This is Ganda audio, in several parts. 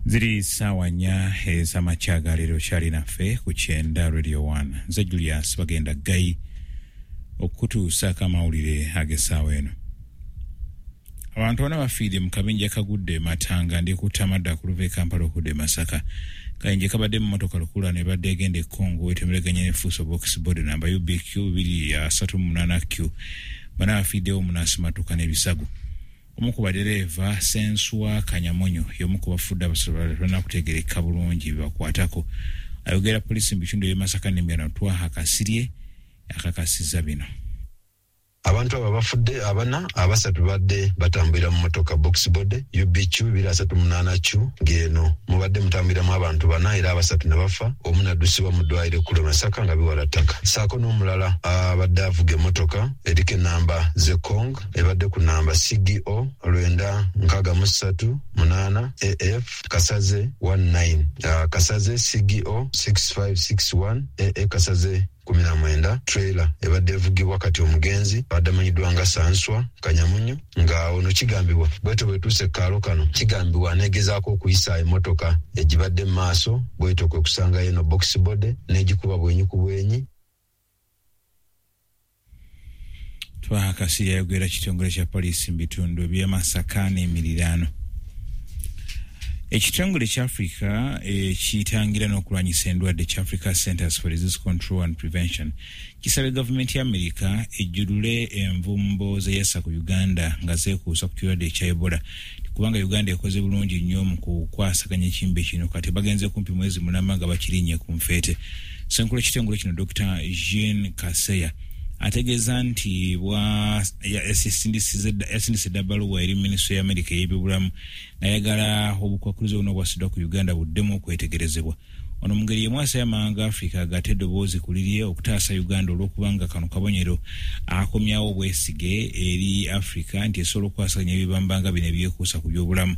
Ziri ssaawa 4 ez'amakya ga leero, kyali naffe ku Kyenda Radio 1. Nze Julius Bagenda Ggayi okukutuusaako amawulire ag'essaawa eno. Abantu bana bafiiridde mu kabenje akagudde e Matanga ndi kutta amadda ku luva e Kampala okudda e Masaka. Kabenje kabadde mu mmotoka lukululana ebadde egenda e Congo etemereganye ne Fuso Box Body namba UBQ 238Q. Bana bafiiriddewo omunaasimattuka n'ebisago. Omu ku badereeva Senswa Kanyamunyu y'omu ku bafudde, abasatu tebannakutegeerekeka bulungi bibakwatako. Ayogera poliisi mu bitundu eby'e Masaka n'Emityana Twaha Kasirye akakasizza bino. Abantu abo abafudde abana, abasatu badde batambulira mu mmotoka box body UBQ 238 Q, ng'eno mubadde mutambuliramu abantu bana era abasatu ne bafa, omu n'addusibwa mu ddwaliro ekkulu e Masaka nga biwala ttaka, ssaako n'omulala abadde avuga emmotoka eriko ennamba z'e Kong ebadde ku nnamba CGO 963 8 AF Kasaze 19 Kasaze CGO 6561 AA Kasaze 19 trailer ebadde evugibwa kati omugenzi abadde amanyiddwa nga Sanswa Kanyamunyu, nga ono kigambibwa bwetyo bwetuuse ekkaalo kano kigambibwa aneegezaako okuyisa emmotoka egibadde mu maaso, bwetyo kwe kusangayo eno box body n'egikuba bwenyi ku bwenyi. Twaha Kasirye ayogera kitongole kya poliisi mu bitundu eby'e Masaka n'emiriraano. Ekitongole kya Africa ekitangira n'okulwanyisa endwadde kya Africa Centers for Disease Control and Prevention kisabye gavumenti ya Amerika ejjulule envumbo zeyassa ku Uganda nga zeekuusa ku kirwadde ekya Ebola, kubanga Uganda ekoze bulungi nnyo mu kukwasaganya ekimbe kino. Kati bagenze kumpi mwezi mulamba nga bakirinnye ku nfeete. Ssenkulu ekitongole kino Dr Jean Kaseya ategeeza nti yasindise dda bbaluwa eri minisitule ya Amerika ey'ebyobulamu ng'ayagala obukwakkulizo buno obwasiddwa ku Uganda buddemu okwetegerezebwa. Ono mu ngeri y'emu asabye amawanga Africa agatte eddoboozi ku lirye okutaasa Uganda, olw'okubanga kano kabonero akomyawo obwesige eri Africa nti esobola okukwasaganya ebibamba nga bino ebyekuusa ku byobulamu.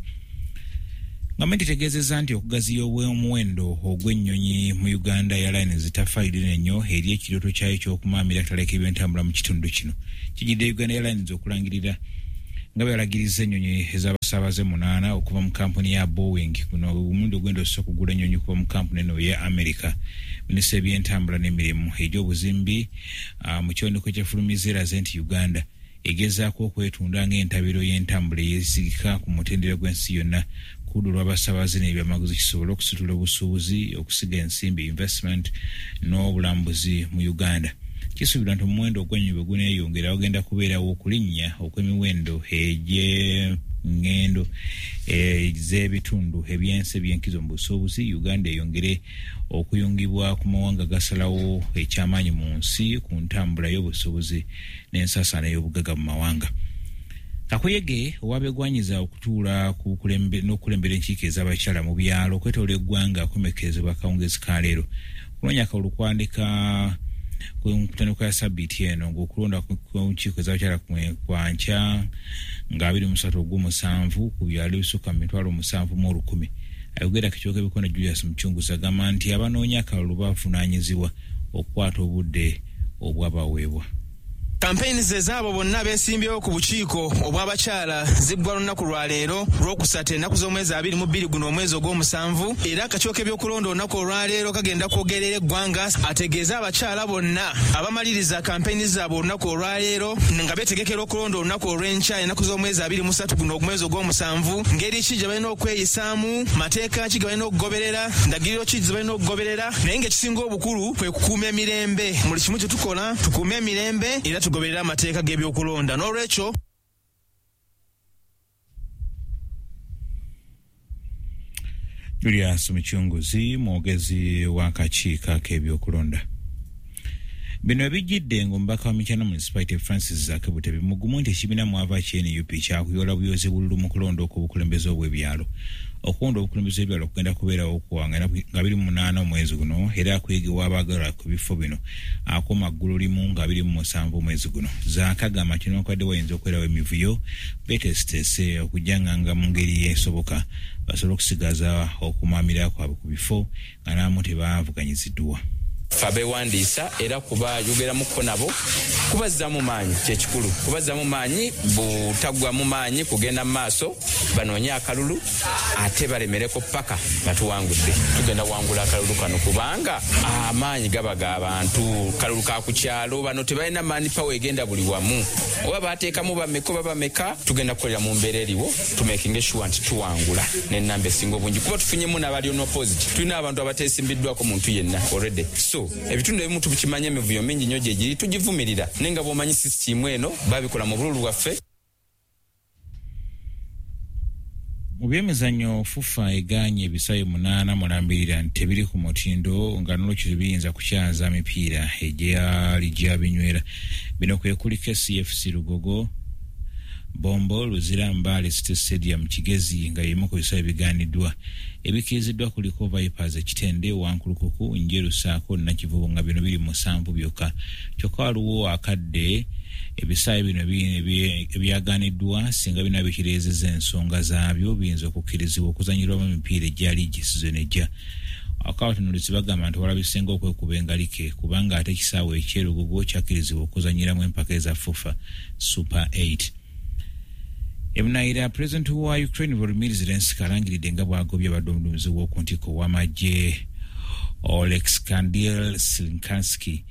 Gavumenti etegeezezza nti okugaziya omuwendo ogw'ennyonyi mu Uganda Airlines tafaalire nnyo eri ekirooto kyayo ky'okumaamira akatale k'ebyentambula mu kitundu kino. Kijjidde Uganda Airlines okulangirira nga bwe yalagiriza ennyonyi ez'abasaabaze 8 okuva mu kampuni ya Boeing. Guno omulundi ogwenda ossa okugula ennyonyi okuva mu kampuni eno eya America. Minisita ebyentambula n'emirimu egy'obuzimbi mu kiwandiiko kyefulumiza eraze nti Uganda egezaako okwetunda ng'entabiro y'entambula eyeesigika ku mutendera gw'ensi yonna ku ludda olw'abasaabaze n'ebyamaguzi, kisobole okusitula obusuubuzi, okusiga ensimbi, investment, n'obulambuzi mu Uganda. Kisuubirwa nti omuwendo ogw'ennyonyi bwe guneeyongera, wagenda kubeerawo okulinnya okw'emiwendo egy'eŋŋendo ez'ebitundu ebyensi ebyenkizo mu busuubuzi, Uganda eyongere okuyungibwa ku mawanga gasalawo ekyamaanyi mu nsi ku ntambula y'obusuubuzi n'ensaasaana y'obugagga mu mawanga. Kakuyege owabegwanyiza okutuula n'okukulembera enkiiko ez'abakyala mu byalo okwetoola eggwanga akomekkerezebwa akawungezi ka leero. Kunoonya akalulu kwandika ku ntandikwa ya sabbiiti eno, ng'okulonda ku nkiiko ez'abakyala kwankya nga 23 ogw'omusanvu ku byalo ebisukka mu 7,000. Ayogera ku ebikono Julius Mucunguzi agamba nti abanoonya akalulu bavunaanyizibwa okukwata obudde obwabaweebwa. Kampeyini ze zaabo bonna beesimbyewo ku bukiiko obw'abakyala ziggwa lunaku lwa leero Lwokusatu, ennaku z'omwezi 22 guno omwezi ogw'omusanvu. Era akakiiko k'ebyokulonda olunaku olwaleero kagenda kwogerera eggwanga ategeeze abakyala bonna abamaliriza kampeyini zaabwe olunaku olwaleero nga beetegekera okulonda olunaku olw'enkya, ennaku z'omwezi 23 guno omwezi ogw'omusanvu, ngeri ki gye balina okweyisaamu, mateeka ki ge balina okugoberera, ndagiriro ki ze balina okugoberera. Naye ng'ekisinga obukulu kwe kukuuma emirembe. Mu buli kimu kye tukola tukuume emirembe era tugoberere amateeka g'ebyokulonda. N'olwekyo Julius Mucunguzi, mwogezi w'akakiiko ak'ebyokulonda. Bino ebijjidde ng'omubaka wa Mityana Municipality Francis Zaake Butebi mugumu nti ekibiina mwava ki NUP kyakuyoola buyozi bululu mu kulonda okw'obukulembeze obw'ebyalo. Okulonda obukulembeze bw'ebyalo kugenda kubeerawo nga 28 omwezi guno, era akuyigiwa abaagala ku bifo bino akoma ggulu limu nga 27 omwezi guno. Zaake agamba nti newankubadde wayinza okubeerawo emivuyo, beteeseteese okujjanganga mu ngeri esoboka basobole okusigaza okumaamira kwabwe ku bifo nga n'abamu tebavuganyiziddwa. Ffe abeewandiisa era kubayogeramuko nabo kubazzaamu maanyi, kyekikulu kubazzaamu maanyi, butaggwamu maanyi kugenda mu maaso, banoonye akalulu ate balemereko paka nga tuwangudde. Tugenda wangula akalulu kano kubanga amaanyi gaba g'abantu, kalulu ka ku kyalo, bano tebalina maani pawa egenda buli wamu, oba bateekamu bameka oba bameka, tugenda kukolera mu mbeera eriwo tumakinge sure nti tuwangula n'ennamba esinga obungi, kuba tufunyemu n'abali on opposite, tulina abantu abateesimbiddwako muntu yenna already. So ebitundu ebimu tubikimanya emivuyo mingi nnyo gye giri, tugivumirira, naye nga bw'omanyi sisitiimu eno babikola mu bululu bwaffe. Mu byemizannyo, FUFA egaanye ebisaawe 8 mulambirira nti tebiri ku mutindo nga n'olwekyo tebiyinza kukyaza mipiira egyali gyabinywera. Bino kwe kuliko CFC Lugogo, Bombo, Luzira, Mbale City Stadium, Kigezi nga y'emu ku bisaawe ebigaaniddwa. Ebikkiriziddwa kuliko Vipers Ekitende, Wankulukuku, Njeru ssaako Nakivubo nga bino biri 7 byokka. Kyokka waliwo akadde ebisaawe bino ebyagaaniddwa singa bino bikireezezza ensonga zaabyo biyinza okukkirizibwa okuzannyirwamu emipiira egya liigi sizoni ejja. Akabatunuulizi bagamba nti walabisenga okwekuba engalike kubanga ate ekisaawe eky'e kyakkirizibwa okuzannyiramu empaka eza FUFA Super 8. Ebunayira, pulezidenti wa Ukraine Volodymyr Zelensky alangiridde nga bw'agobye abadde omuduumizi w'oku ntikko w'amagye Oleksandr Sirskyi.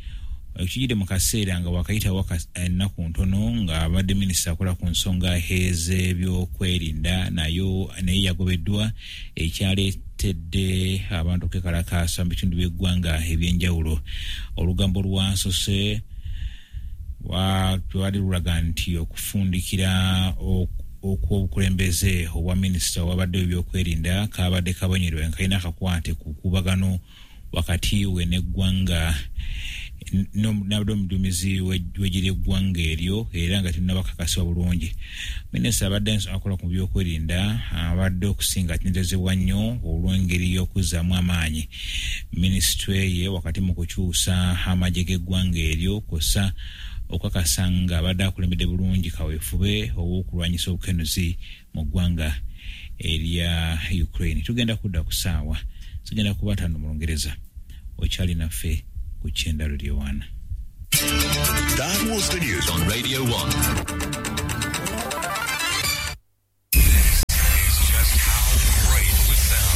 Ekijjidde mu kaseera nga wakayitawo ennaku ntono ng'abadde minisita akola ku nsonga ez'ebyokwerinda naye yagobeddwa, ekyaleetedde abantu okwekalakaasa mu bitundu by'eggwanga ebyenjawulo. Olugambo lwansose lwali lulaga nti okufundikira okw'obukulembeze obwa minisita owabadde ebyokwerinda kabadde kabonyerwa nga kalina akakwate ku kubagano wakati we n'eggwanga n'abadde omuduumizi w'eggye ly'eggwanga eryo era nga tennabakakasibwa bulungi. Minisita abadde akola ku byokwerinda abadde okusinga atenderezebwa nnyo olw'engeri y'okuzzaamu amaanyi minisitule ye wakati mu kukyusa amagye g'eggwanga eryo kw'ossa okukakasa nga abadde akulembedde bulungi kaweefube ow'okulwanyisa obukenuzi mu ggwanga erya Ukraine. Tugenda kudda ku ssaawa zigenda kuba 5 mu Lungereza. Okyali naffe ku Kyenda Radio 1. That was the news on Radio 1.